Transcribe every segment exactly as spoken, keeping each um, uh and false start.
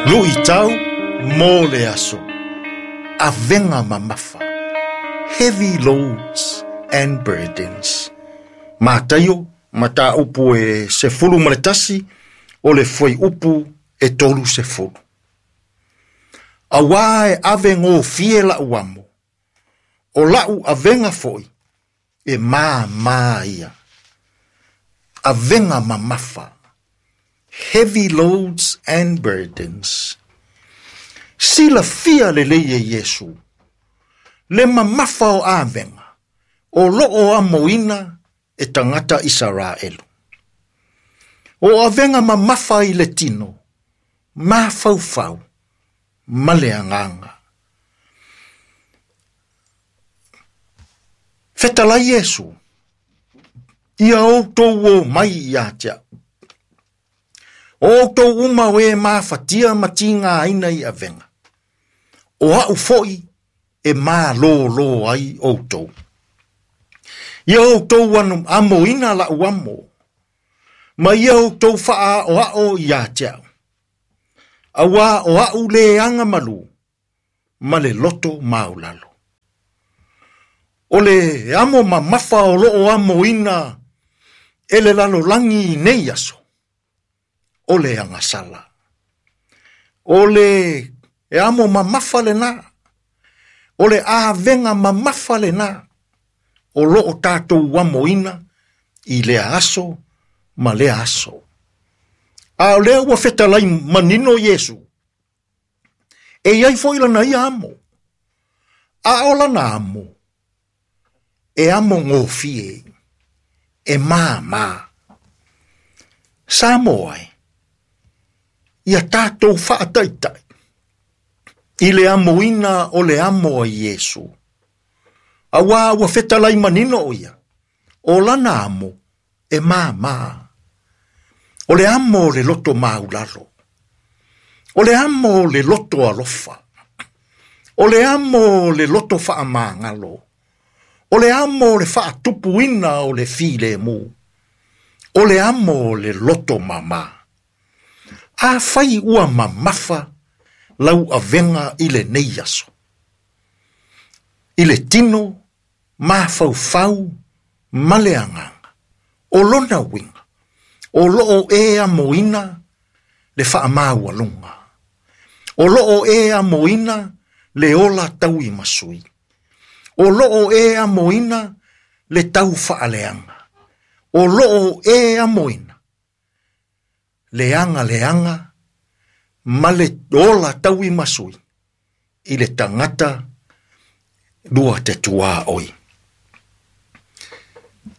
Luʻitau mo le aso. Avega mamafa. Heavy loads and burdens. Mataio, mataupu e sefulu ma le tasi, o le fuaiupu e tolu sefulu. Auā e ave gofie laʻu amo, o laʻu avega foʻi, e māmā ia. Avega mamafa. Heavy loads and burdens. Silafia lelei e Iesu, le mamafa o avega, o loo amoina e tagata Isaraelu. O avega mamafa i le tino, mafaufau, ma le agaga. Fetalai Iesu, ia outou o mai ia te aʻu. O outou uma o e mafatia ma tigaina i avega. O aʻu foʻi e malōlō ai outou. Ia outou anu amoina laʻu amo, ma ia outou faaaoao ia te aʻu. Auā o aʻu lē agamalū, ma le loto maulalo. O le amo mamafa o loo amoina e le lalolagi i nei aso, o le agasala. O le e amo mamafa lenā, o le avega mamafa lenā, o loo tatou amoina i lea aso ma lea aso. A o lea ua fetalai manino Iesu, e iai foʻi lana ia amo, a o lana amo, e amo gofie, e māmā. Samoa e, ia tatou faataitaʻi, i le amoina o le amo a Iesu. Auā ua fetalai manino o ia, o lana amo e māmā. O le amo o le loto maulalo. O le amo o le loto alofa. O le amo o le loto faamagalo. O le amo o le faatupuina o le filemu. O le amo o le loto mamā. Afai ua mamafa lau avega i lenei aso. I le tino, mafaufau, ma le agaga. O lona uiga, o loo e amoina le faamaualuga. O loo e amoina le ola tauimasui. O loo e amoina le tau faaleaga. O loo e amoina le aga leaga ma le ola tauimasui i le tagata lua te tuaoi.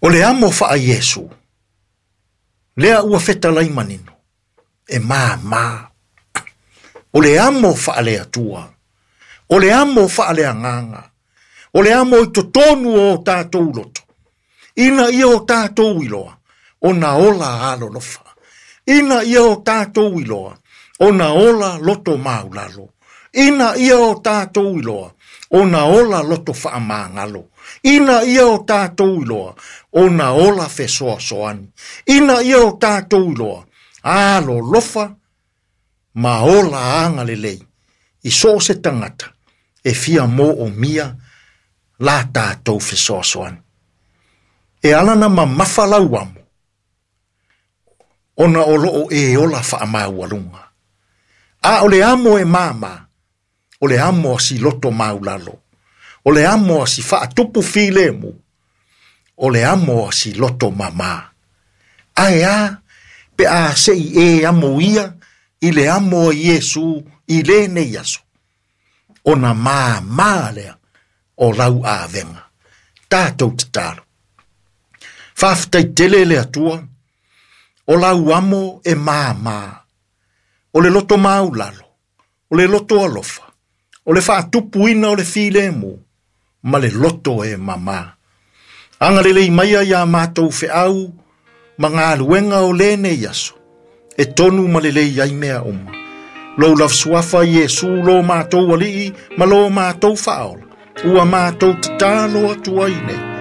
O le amo faa Iesu, lea ua fetalai manino, e māmā. O le amo faale Atua, o le amo faale agaga, o le amo i totonu o tatou loto, ina ia o tatou iloa, ona ola alolofa. Ina ia o tatou iloa, ona ola loto maulalo. Ina ia o tatou iloa, ona ola loto faamagalo. Ina ia o tatou iloa, ona ola fesoasoani. Ina ia o tatou iloa, alolofa ma ola agalelei. I so o se tagata, e fia moomia la tatou fesoasoani. E ala na mamafa lau amo, ona o loo e ola faamaualuga. A o le amo e māmā, o le amo a si loto maulalo, o le amo a si faatupu filemu, o le amo a si loto mamā. Ae a, pe a sei e amo ia, i le amo a Iesu i lenei aso. Ona māmā lea o lau avega. Tatou tatalo. Faafetai tele le Atua, o lau amo e māmā, o le loto maulalo, o le loto alofa, o le faatupuina o le filemu, ma le loto e mamā. Agalelei maia iā matou feau, ma galuega o lenei aso, e tonu ma lelei ai mea uma. Lou lafasuafa Iesu lo matou alii, ma lo matou faaola, ua matou tatalo atu ai nei.